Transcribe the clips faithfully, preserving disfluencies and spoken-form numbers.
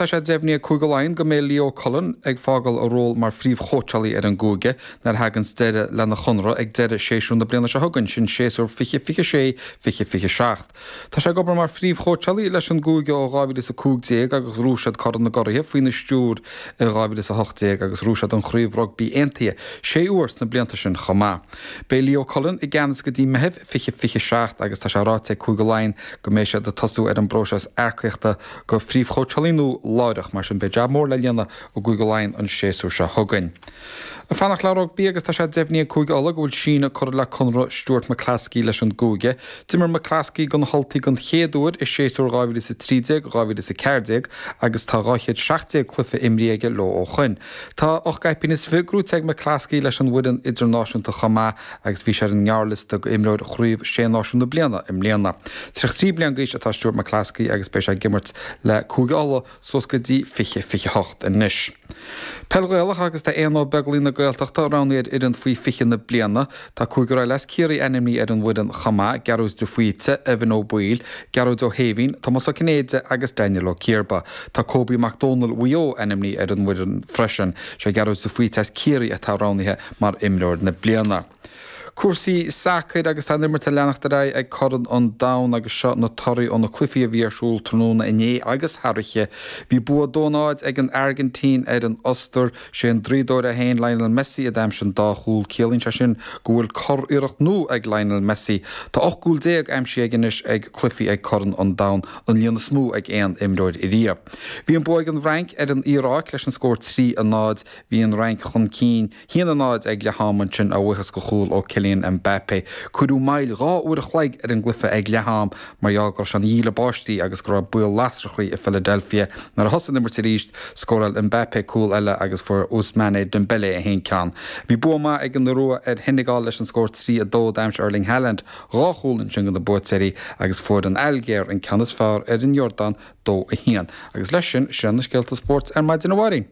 Tá sé deimhnithe ag Cúige Laighean go mbeidh Leo Cullen ag fágáil a ról mar phríomhchóitseálaí ar an gcúige nuair a thagann deireadh lena chonradh ag deireadh séasúr na bliana seo chugainn, sin séasúr fiche fiche sé, fiche fiche seacht. Tá sé ag obair mar phríomhchóitseálaí leis an gcúige ó dhá mhíle is a cúig déag agus ghnóthaigh siad Corn na gCuraithe faoina stiúir i dhá mhíle is a hocht déag agus ghnóthaigh siad an Chraobh Rugbaí Aontaithe sé huaire sna blianta sin chomh maith. Beidh Leo Cullen i gceannas go dtí Meitheamh fiche fiche seacht agus tá sé ráite ag Cúige Laighean go mbeidh siad ag tosú ar an bpróiseas earcaíochta do phríomhchóitseálaí nua láithreach, mar sin beidh jab mór le déanamh i gCúige Laighean an séasúr seo chugainn. Ag fanacht le rugbaí agus tá sé deimhnithe ag Cúige Uladh go bhfuil síneadh curtha le conradh Stuart McCloskey leis an gcúige. D'imir McCloskey do na hUltaigh den chéad uair i séasúr dhá mhíle is a trí déag, dhá mhíle is a ceathair déag agus tá dhá chéad seacht déag cluiche imrithe aige leo ó shoin. Tá ocht gcaipín is fiche gnóthaithe ag McCloskey leis an bhfoireann idirnáisiúnta chomh maith agus bhí sé ar an ngearrliosta d'imreoir Chraobh Sé Náisiún na bliana i mbliana. Tríocha trí bliain d'aois atá Stuart McCloskey agus beidh sé ag imirt le Cúige Uladh suas go dtí fiche fiche hocht anois. Peil Ghaelach agus tá Éanna Ó Beaglaoich na Gaeltachta roghnaithe ar fhoireann faoi fiche na bliana. Tá cúigear eile as Ciarraí ainmnithe ar an bhfoireann chomh maith, Gearóid de Faoite, Evan Ó Baoill, Gearóid Ó hÉimhín, Tomás Ó Cinnéide agus Daniel Ó Ciarba. Tá Kobe Mac Dónaill Mhaigh Eo ainmnithe ar an bhfoireann freisin. Sé Gearóid de Faoite as Ciarraí atá roghnaithe mar imreoir na bliana. Cúrsaí sacair agus tá an imirt ag leanacht ar aghaidh ag Corn an Domhain agus seo na torthaí ó na cluichí a bhí ar siúl tráthnóna inné agus thar oíche. Bhí bua dó náid ag an Airgintín ar an Ostair, sé an draíodóir é féin Lionel Messi a d'aimsigh an dá chúl. Ciallaíonn sé sin go bhfuil curiarracht nua ag Lionel Messi. Tá ocht gcúl déag aimsithe aige anois ag cluichí ag Corn an Domhain, an líon is mó ag aon imreoir riamh. Bhí an bua ag an bhFrainc ar an Iaráic leis an scór trí a náid. Bhí an Fhrainc chun cinn haon a náid ag leath am ansin a bhuíochas do chúl ó Kylian Mbappé. Cuireadh moill dhá uair a chloig ar an gcluiche ag leath am mar gheall go raibh sé ina dhíle báistí agus go raibh baol lasrachaí i Philadelphia. Nuair a thosaigh an imirt arís, scóráil Mbappé cúl eile agus fuair Ousmane Dembélé a haon ceann. Bhí bua maith ag an Iorua ar Sheinegal leis an scór trí a dó. D'aimsigh Erling Haaland dhá chúl ansin do na buaiteoirí agus fuair an Ailgéir an ceann is fearr ar an Iordáin dó a haon. Agus leis sin, sin na scéalta spóirt ar maidin a Mháirín.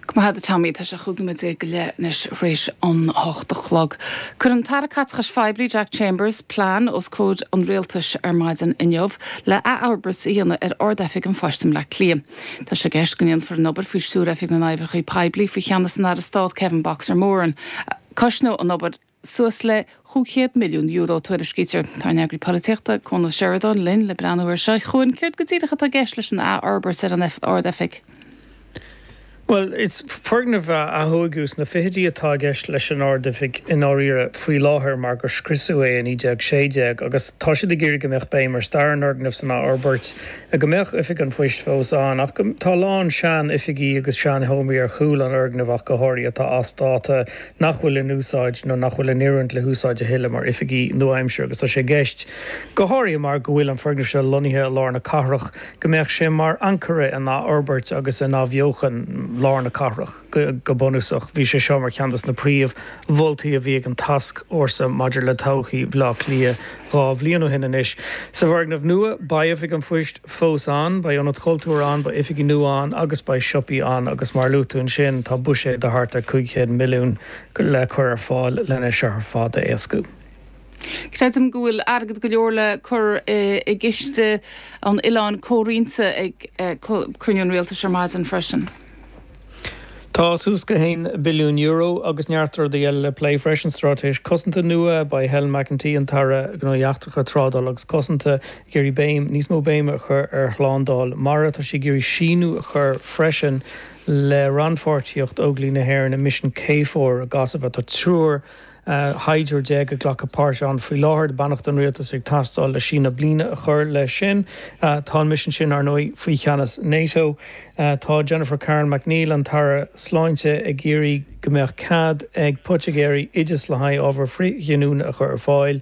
Go maith agat a Tommy, tá sé chúig nóiméad déag go leith anois tar éis an hocht a chlog. Chuir an tAire Caiteachais Phoiblí Jack Chambers plean os comhair an rialtais ar maidin inniu le athfhorbairt a dhéanamh ar Ard-Oifig an Phoist i mBleá Cliath. Tá sé i gceist go ndéanfar an obair faoi stiúir Oifig na nOibreacha Poiblí faoi cheannas an Aire Stáit Kevin Boxer Moran. Cosnóidh an obair suas le chúig chéad milliún euro tuairiscítear. Tá ár n-eagraí polaitíochta Cuan Ó Seireadáin linn le breathnú air seo. Chuan, céard go díreach atá i gceist leis an athfhorbairt ar an Ard-Oifig? Well, it's foirgneamh a tógadh sna fichidí atá i gceist leis an Ard-Oifig i ndáiríre faoi láthair mar gur scriosadh é i naoi déag sé déag agus tá siad ag iarraidh go mbeadh béim ar stair an fhoirgnimh san athfhorbairt, go mbeadh Oifig an Phoist fós ann ach go tá a lán sean-oifigí agus sean-sheomraí ar chúl an fhoirgnimh ach go háirithe atá as dáta nach bhfuil in úsáid nó nach bhfuil in oiriúint le húsáid a thuilleadh mar oifigí nua-aimseartha agus tá sé i gceist go háirithe mar go bhfuil an foirgneamh seo lonnaithe i lár na cathrach go mbeadh sé mar ancaire in athfhorbairt agus in athbheochan lár na cathrach go bunúsach. Bhí sé seo mar cheann de na príomh-mholtaí a bhí ag an tascfhórsa maidir le todhchaí Bhaile Átha Cliath dhá bhliain ó shin anois. Sa bhfoirgneamh nua, beidh Oifig an Phoist fós ann, beidh ionad cultúir ann, beidh oifigí nua ann agus beidh siopaí ann agus mar a luaigh tú ansin, tá buiséad de thart ar cúig chéad milliún le cur ar fáil lena seo ar fad a éascú. Creidim go bhfuil airgead go leor le cur i gciste an oileáin comhroinnte ag cruinniú an rialtais ar maidin freisin. Tá suas go haon billiún euro agus neart rudaí eile le plé freisin, straitéis cosanta nua, beidh Helen McEntee, an tAire Gnóthaí Eachtracha, Trádála agus Cosanta, ag iarraidh béim, níos mó béime a chur ar shlándáil mara. Tá sí ag iarraidh síneadh a chur freisin le rannpháirtíocht Óglaigh na hÉireann i misean K For i gCosaiv. Tá triúr shaighdiúir déag ag glacadh páirt ann faoi láthair. Beannacht an Rialtais ag teastáil le síneadh bliana a chur leis sin. Tá an misean sin, ar ndóigh, faoi cheannas NATO. Tá Jennifer Carroll MacNeill, an tAire Sláinte, ag iarraidh go mbeadh cead ag poitigéirí oideas le haghaidh ábhar frithghiniúna a chur ar fáil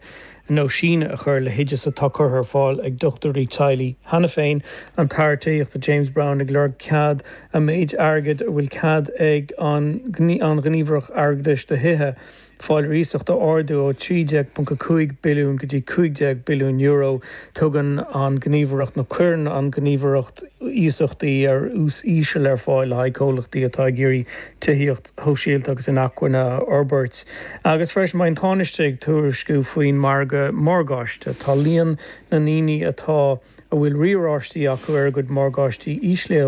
nó síneadh a chur le hoideas atá curtha ar fáil ag dochtúirí teaghlaigh cheana féin. An tAire Tithíochta James Browne ag lorg cead an méid airgid a bhfuil cead ag an Ghníomhaireacht Airgeadais do Thithe fáil ar iasacht a ardú ó trí déag ponc a cúig billiún go dtí cúig déag billiún euro. Tugann an Ghníomhaireacht, nó cuireann an Ghníomhaireacht iasachtaí ar ús íseal ar fáil le haghaidh comhlachtaí atá ag iarraidh tithíocht shóisialta agus inacmhainne a fhorbairt. Agus freisin beidh an Tánaiste ag tuairisciú faoin margadh morgáiste. Tá líon na ndaoine atá a bhfuil riaráistí acu ar a gcuid morgáistí íslithe.